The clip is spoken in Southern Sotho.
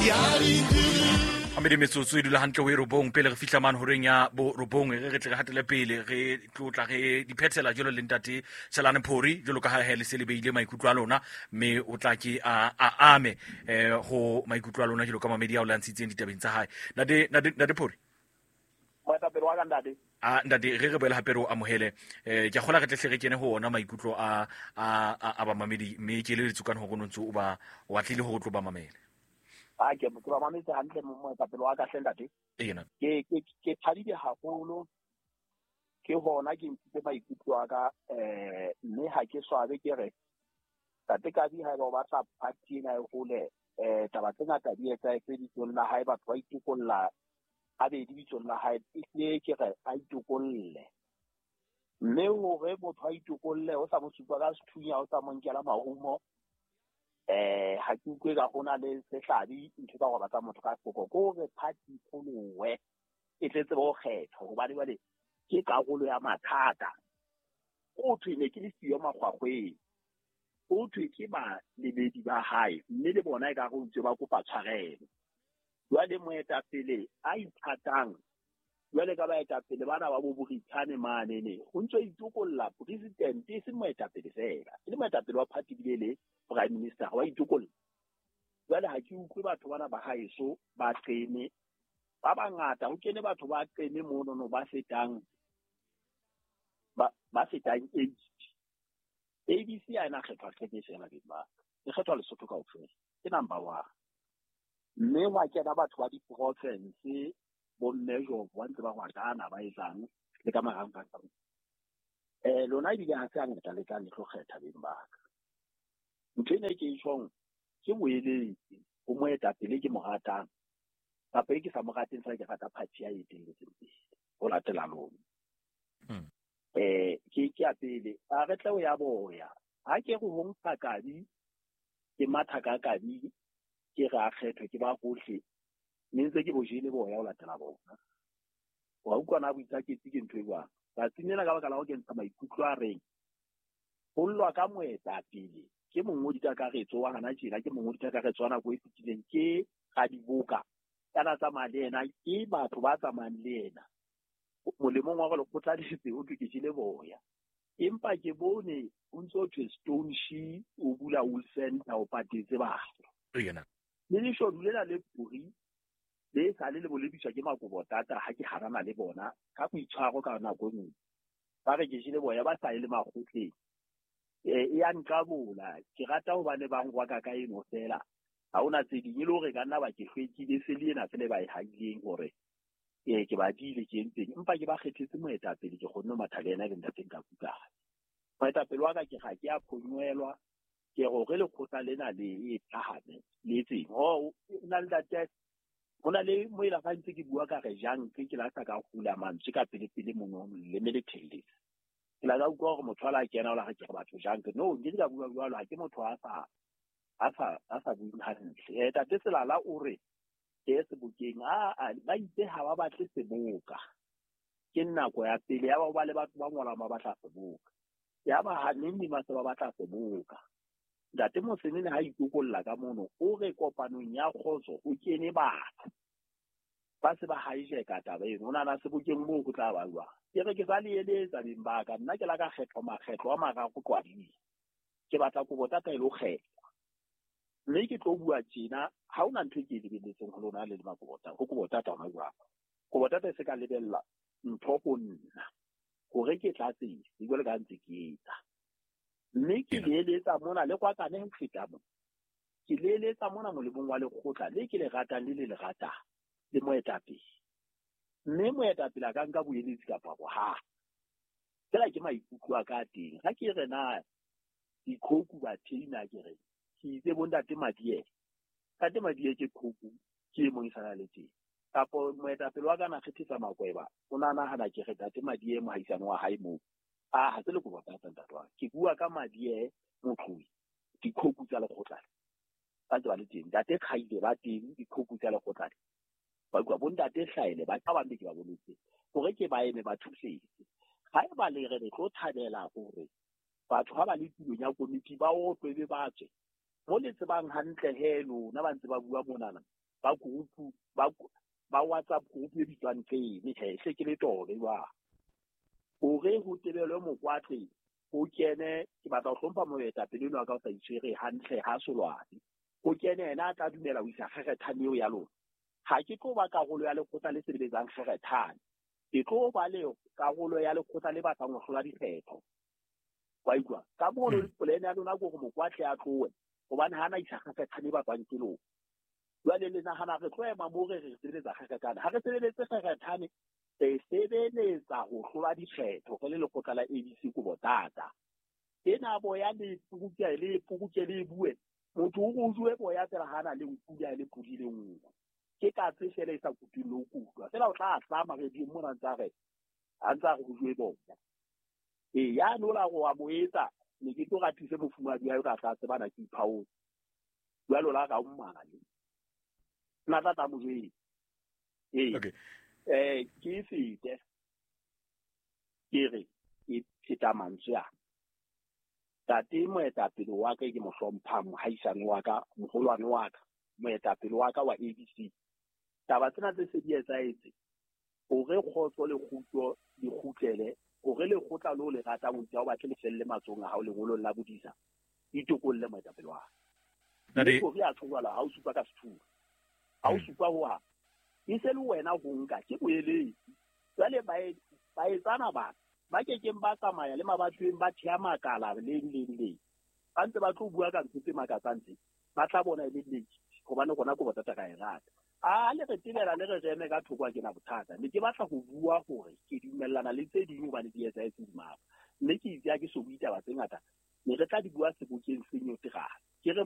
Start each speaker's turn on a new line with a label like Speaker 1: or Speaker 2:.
Speaker 1: Amedi metsotso e dula hantle ho e 9 pele re fihla mane horeng ya bo 9 re tle re hatele pele re tlotla re diphethela jwalo le ntate Tshelane Phori jwalo ka ha he le se le beile maikutlo a lona mme o tla ke a ame ho maikutlo a lona jwalo ka mamedi ao le ntshitseng ditabeng tsa hae. Ntate Phori,
Speaker 2: moetapele wa ka ntate.
Speaker 1: A ntate re boele hape re o amohele. Ke a kgola re tle hle re kene ho ona maikutlo a a bamamedi mme ke le letsukane hore o ntse o ba o atlile hore o tlo ba mamele.
Speaker 2: A ke ba mametse hantle moetapele wa ka hle ntate.
Speaker 1: Ena.
Speaker 2: Ke thabile haholo ke hona ke ntshitse maikutlo a ka mme ha ke swabe ke re Ntate Kabi haeba o batla party ena e hole taba tse ngata di etsahetse bitsong la hae, batho ba itokolla habedi bitsong la hae, ehlile ke re a itokolle. Mme hore motho a itokolle o sa mo supa ka sethunya, o sa mo nkela marumo, ha ke utlwe ka hona le sehlabi ntho tsa go batla motho ka hloko, ke hore party pholowe e tle tsebe ho kgethwa, hobane jwale ke karolo ya mathata. O thwe ne ke le siyo makgwakgweng, o thwe ke balebedi ba hae, mme le bona e ka re o ntse ba kopa tshwarelo. Jwale moetapele a ithatang jwale ka baetapele bana ba bo Borithane mane ne ho ntso itokolla president, e seng moetapele fela, e le moetapele wa party bile le prime minister wa itokolla. Jwale ha ke utlwe batho bana ba haeso ba qene ba bangata, ho kene batho ba qene mono no ba fetang ba fetang 80. ABC ha ena kgethwa qene fela beng ba, e kgethwa Lesotho kaofela, ke number 1. Mme wa kena batho ba di-province bo mme Jobo ba ntse ba ngwakana ba etsang le ka marangrang. Lona ebile ha se hangata le tlang le tlo kgetha beng ba ka. Ntho ena e ke e tjhong ke boeletsi ho moetapele ke mo ratang kapa e ke sa mo rateng fela ke rata party ya etelletseng pele ho latela lona. Ke ya pele a re tle o ya boya ha ke re ho nka Kabi ke matha ka Kabi ke re a kgethwe ke ba hohle mme ntse ke bo jele boya ho latela bona. Wa utlwa na boikaketsi ke ntho e jwang? Tsatsing lena ka baka la ho kentsha maikutlo a reng ho llwa ka moetapele ke mongodi kakaretso wa hana tjena, ke mongodi kakaretso wa nako e fetileng, ke radiboka kana tsamaya le yena, ke batho ba tsamayang le yena molemong wa gore lekgotla le setse o thwe ke jele boya. Empa ke bone o ntse o thwe Stone She o bula wool center o patetse batho. Le leshodu lena le puri le sale le bolediswa ke Makobotata ha ke harana le bona ka boitshwaro ka nako e nngwe. Ba re ke jele boya ba sa ye le makgotleng. E ya nqabola, ke rata hobane ba ngwaka ka eno fela. Ha hona tse ding e le hore ka nna ba ke hlwekile se le ena fela ba e haileng hore ke ba dile ke entseng, empa ke ba kgethetse moetapele ke kgonne ho matha le yena le ntateng ka kukana. Moetapele wa ka ke ga ke a phonywelwa, ke hore lekgotla lena le e phahame le etseng. Oh, na le ntate ho na le mo ela fa ntse ke bua ka re jang ke la sa ka hula mantswe ka pele pele mono le me le thelletse. Ke la ka utlwa hore motho a la kena o la re ke re batho jang ke no nke ka bua jwalo, ha ke motho a sa bueng hantle. Tate Selala o re ke sebokeng a ba itse ha ba batle seboka. Ke nako ya pele ya ba le batho ba ngolang ba batla seboka. Ya ba ha neng ba se ba batla seboka. Ntate Mosenene ha itokolla ka mono o re kopanong ya kgotso o kene batho ba se ba hijacka taba eno, o nahana sebokeng moo ho tla ba jwang? Ke re ke sa le eletsa beng ba ka, nna ke la ka kgethwa makgetlo a mararo qwading, ke batla Kobotata e lo kgethwa. Mme ke tlo bua tjena, ha hona ntho e ke e lebelletseng ho lona le le Makobotata, ho Kobotata hona jwang. Kobotata e se ka lebella ntho ho nna hore ke tlatse jwale ka ntse ke etsa. Mme ke le eletsa mona le kwakane ho feta mona. Ke le eletsa mona molemong wa lekgotla le ke le ratang le le le ratang le moetapele. Mme moetapele a ka nka boeletsi kapa bohale. Fela ke maikutlo a ka teng. Ha ke re na dikhoku ba theina ke re ke itse bo ntate Madiele. Ntate Madiele ke khoku ke e mong e sana le teng. Kapo moetapele wa ka na kgethetsa Makweba, o na nahana ke re ntate Madiele mohaisane wa hae moo. A ha se le Kobotata ntate wa. Ke bua ka Madiele Motloi, dikhoku tsa lekgotla. Ba ntse ba le teng. Ntate Kgaile ba teng dikhoku tsa lekgotla. Ba bua bo ntate Hlaele ba ba bang ke ba boletse hore ke ba eme ba thusetse. Ha eba le re re tlo thabela hore batho ha ba le tulong ya komiti ba otlwe be ba tswe. Mo le tsebang hantle he lona ba ntse ba bua monana. Ba group ba WhatsApp group e bitswang tsene he se ke le tobe jwang. Hore ho tebelwe Mokwatle ho kene, ke batla ho hlompha moetapele enwa ka o sa itshwere hantle ha solwane. Ho kene yena a tla dumela ho isa kgerethane eo ya lona. Ha ke tlo ba karolo ya lekgotla le sebeletsang kgerethane. Ke tlo ba le karolo ya lekgotla le batlang ho hlola dikgetho. Wa utlwa? Ka mono polane ya lona ke hore Mokwatle a tlohe hobane ha na isa kgerethane e batlwang ke lona. Jwale le nahana re tlo ema moo re sebeletsa kgerethane. Ha re sebeletse kgerethane, re sebeletsa ho hlola dikgetho re le lekgotla la ABC Kobotata. Ena boya le puruke le puruke le bue. Motho o re o jwe boya fela ha na le nku ya le pudi le nngwe. Ke katse fela e sa kutung le ho kutwa. Fela o tla hlama re di mona ntsa re a ntsa re o jwe boya. E ya no la go a mo etsa ne ke tlo ratise mofumadi wa ka tla tsebana ke iphaotse. Jwalo la ka o mmale. Nna tla tla mo jwetsa. Ee.
Speaker 1: Okay.
Speaker 2: Ke fete. Ke re ke pheta mantswe a. Tate moetapele wa ka ke mo hlomphang, mohaisane wa ka, moholwane wa ka, moetapele wa ka wa ABC. Taba tsena tse se di etsahetse hore kgotso le kgutso di kgutlele, hore lekgotla leo le ratang ho itse ha o batle le felle matsohong a hao lengolong la bodisa, itokolle moetapele wa ka.
Speaker 1: Ntate
Speaker 2: Mme hore a tjho jwalo, ha o supa ka sethunya. Ha o supa ho hang. E se le wena ho nka, ke boeletsi. Jwale baetsana bana ba kekeng ba tsamaya le mabatoweng ba thea makala leng leng leng. Ba ntse ba tlo bua ka ntho tse makatsang tse. Ba tla bona e le nnete, hobane rona ko bothata ka e rata. A le re tebela le re re eme ka thoko ha ke na bothata. Ne ke batla ho bua hore ke dumellana le tse ding hobane di etsahetse hodima ka. Mme ke itse ha ke so bue taba tse ngata, ne re tla di bua sebokeng se nyoterang. Ke re